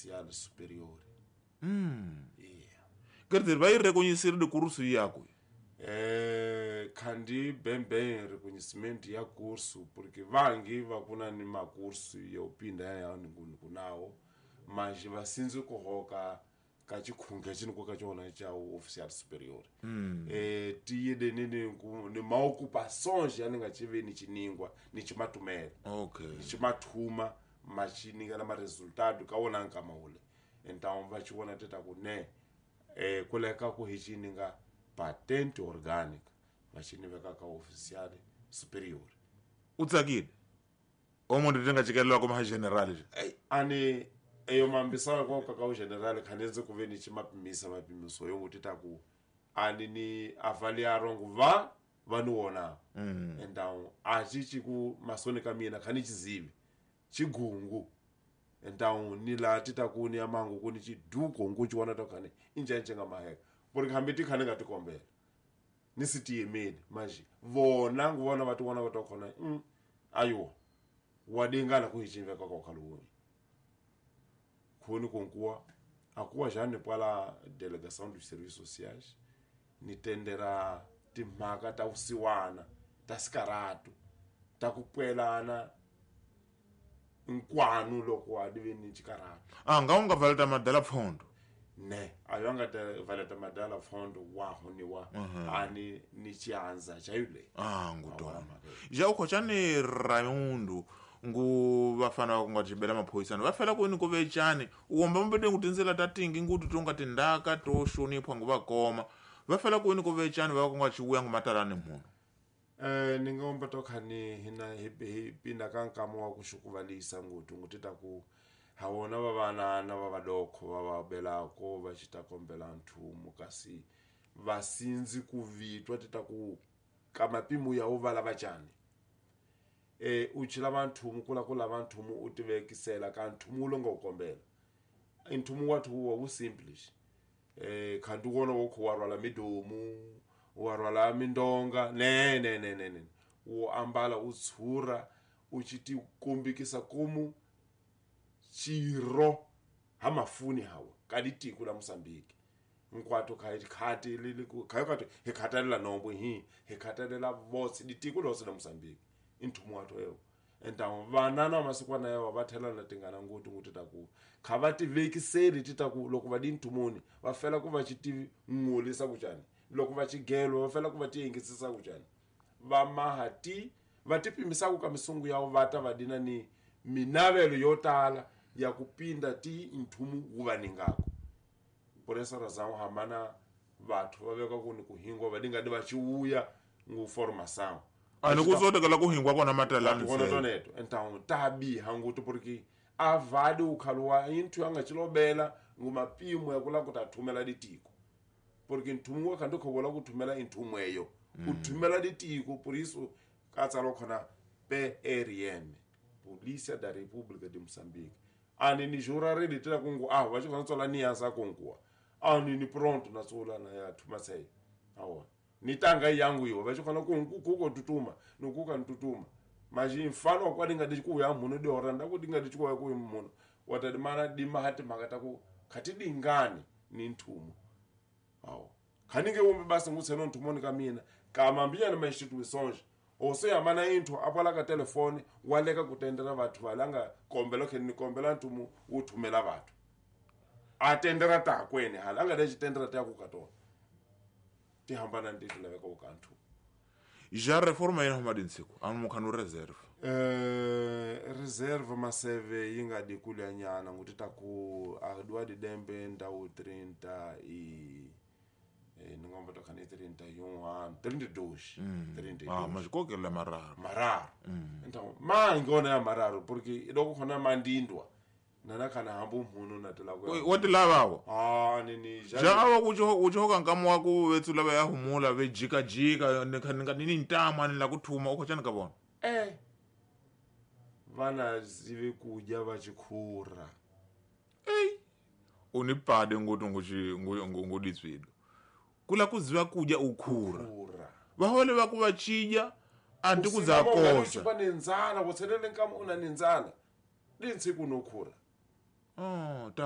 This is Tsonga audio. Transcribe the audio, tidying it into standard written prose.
Oficial Superior. Yeah. Quer dizer, vai reconhecer de curso yako. Khandi bem bem reconhecimento ya curso, porque vangi vakuna ni makurso ya upinda ya kunawo, mas vasinzi kuhoka ka chikhunge chini ka chona cha oficial superior. Tiyede ni maocupações ya ninga chive ni chiningwa ni chimatumela. Okay. Ni chimathuma machininga na maresultado ka wona nkama ule. Então va chiwona teta ku ne kuleka ku hi chininga patente orgânica vachiniveka ka oficial superior. Utsakile omunhu tinga chikelelwa kuma general. Ani eyo mambisana konka ka general khanenze ku ve ni chimapimisa mapimiso yo kuti taku ani ni avaliarongo va ni wona. Então achichi ku masoni ka mina khani chizivi chigungu. Então ni la tita ku ni amangu ku ni chiduko nkuchiwana tokane injenje nga maheka porque hambi ti khane nga tikombela ni sitiyemeli manje vona nguvona vati vona va tokhona ayo wadingana ku hichimveka kwa khaluwi khoni konkuwa akuwa jane pala delegação dos serviços sociais ni tendera timhaka ta vusiwana ta sikaratu ta ku pwelana nkwanu loko a dive ni chikaratu. Nga unga valeta madala pfondo ne ayo anga ta valeta madala pfondo wa honiwa ani ni chianza chayule ngutona ja ukho chani Raimundo ngu vafana va nga tibela maphoyisana va fela ku ni ku vechani uomba mbede ngu tindzela ta tingi ngutu tonga tindaka to xonipha ngu va koma va fela ku ni ku vechani va ku nga chivuya ngu matalani munhu. Ni nga omba to khani hina hi pinda ka nkama wa ku xukuvalisa ngutu nguti ta ku ha wona va vanana va vadokho va va belako va xita kombela nthumu kasi va sindzi ku vitwa ti ta ku ka mapimo ya wu va lava chani. U chila vanthumu kula ku lava nthumu u tivekisela ka nthumu lo nga u kombela nthumu wa thuwa wu simple khandi wona wo kho wa rwala midomu wa rwala mindonga ne ne ne ne ne wo ambala u tshura u chiti kumbikisa kumu chiro ha mafuni hawa ka ditiko la Mozambique nkwato kha khati li kha kati hi khatalela nombo hi khatalela votse ditiko lose la Mozambique inthumu watho ewo. Então vanana masikwana yawo va thelana tingana nguti nguti ta ku kha va tivekiseli ti ta ku loko va di nthumuni va fela ku va xitivi ngulisa ku chani loko va chigelo va fela ku va tiyengisisa ku chani va mahati va tipimisa ku ka misungu yawo va ta va dina ni minavelo yo tala ya ku pinda ti nthumu wu va ningako. Por essa razão hamana vathu va veka ku ni ku hingwa va dinga di va chiuya ngu formação ani kuzotekela ku hingwa kona matalani kona toneto. Então tabi hanguti porque avadi ukhaluwa inthu anga chilobela ngumapimo ya kula kutathumela ditiko porque nthumu wa khando khobola kuthumela inthumu eyo uthumela ditiko. Por isso katsalo khona PRM Polícia da República de Moçambique ani ni jura re ditela kungu va chikhona tsola ni yansa kunguwa ani ni pronto na tsola na ya thuma sei awa ni tanga yangu iwo va chikhona kungu kuko tutuma nukuka ntutuma maji mfano kwa dinga diku ya muno de oranda ku dinga diku ya ku muno watadimana dima hati makata ku khati dingani ni nthumu awo khaninge umbe basi ngutseno nthumoni ka mina kama mbiya na instituições ose yamana inthu apala ka telefone waleka kutendera vathu valanga kombela khe ni kombela nthumu uthumela vathu atendera ta kwene hala anga de chitendera ta ku katona ti hambana ndi laveka ku kanthu. Ja reforma yena madinsiku anu mukhanu reserve reserve maseve yinga dikula nyana nguti ta ku adwa di dembe ndawu 30 i ningomba to khani 31 32 32 mazikokela mararo mararo. Então mangona ya mararo porque iloko khona mandindwa nana khana hambu mhunu na tela ku wa tilavawa nini ja awa kuchoka nkamu wa ku vetsula va ya humula ve jika jika ni ni ntama ni la kuthuma ukho chani ka vona vana zive kudya va chikhura unipade ngutu nguditswido kula kuziva kudya ukhura vahole va ku va chidya anti kuzakosa usiba nenzala wothelele nkama una nenzala lintsiku nokhura